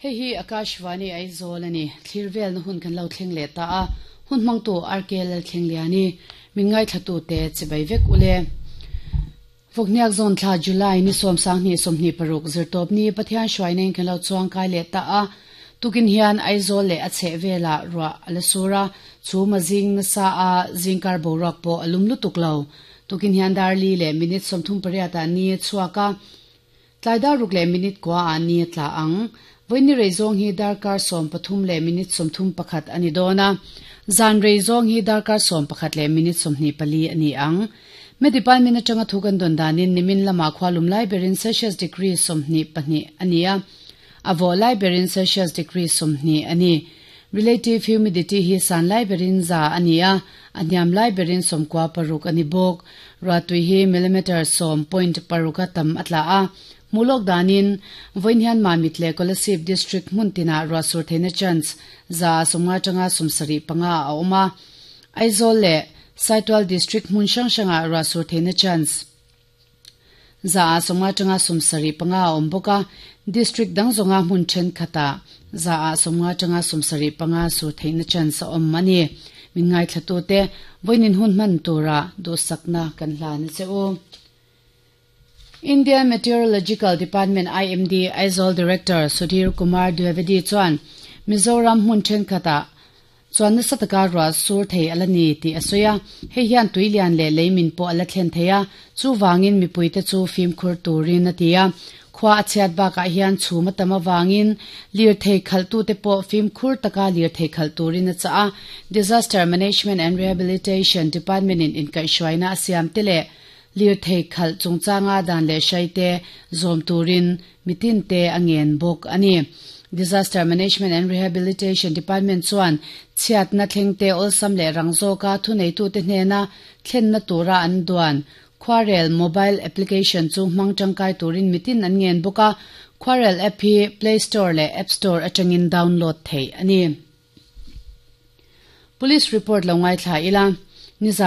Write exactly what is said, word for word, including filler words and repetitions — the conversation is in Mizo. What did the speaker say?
Hei hi Akashvani Aizawl ani thlir vel na hun kan lo thleng leh ta a hun hmang tu R K Lalthlengliani min ngaithla te chibai vek ule Vawkniak zawn thla July ni sawm sanghnih sawmhnih paruk zirtawp ni Pathian hruainain kan lo chuang kai leh ta a tukin hian Aizawl leh a chheh velah ruah a la sur a chhum a zing nasa a zingkar boruak pawh a lum lutuk lo tukin hian darli leh minute sawmthum pariat ah ni a chhuak a tlai dar ruk leh minute kua ah ni a tla ang voini rei zawng hi darkar sawm pathum leh minute sawmthum pakhat ani dawn a zan rei zawng hi darkar sawm pakhat leh minute sawmhnih pali ani ang me department atanga thu kan don danin nimin lama khwalum lai berin Celsius degree sawmhnih pahnih ani a avo lai berin Celsius degree sawmhnih ani relative humidity hi san lai berin za ani a aniam lai berin sawmkua paruk ani bawk ratui hi millimeter sawm point paruka tam atla a mulok danin voin hian mamit le Kolasib district hmuntina ruahsur theihna chance za sawmnga tanga sawmsarih panga a awm a Aizawl le Saitual district hmun hrang hranga ruahsur theihna chance za sawmnga tanga sawmsarih panga a awm bawk a district dang zawnga hmun thenkhat za sawmnga tanga sawmsarih panga sur theihna chance a awm ani min ngaithla tu te voinin hun hman tura duhsakna kan hlan a che u Indian Meteorological Department I M D Aizawl Director Sudhir Kumar Dwivedi chuan Mizoram hmun thenkhat chuan nasa taka ruah sur thei ala ni tih a sawi a hei hian tuilian leh leimin pawh ala thlen thei a chuwangin mipuite chu fimkhur turin a ti a khua a chhiat bakah hian chhum a tam awangin lir thei khalh tu te pawh fimkhur taka lir thei khalh turin a chah a Disaster Management and Rehabilitation Department in inkaihhruaina a siam te leh lir thei khalh chungchanga dan leh hrai te zawm turin mitin te a ngen bawk ani Disaster Management and Rehabilitation Department chuan chhiat na thleng te awlsam leh rang zawka thunei tu te hnena thlen na tura an duan Khwarel mobile application chu hmang tangkai turin mitin an ngen bawk a Khwarel app hi Play Store leh App Store atangin download thei ani Police report lo ngai thla ila ni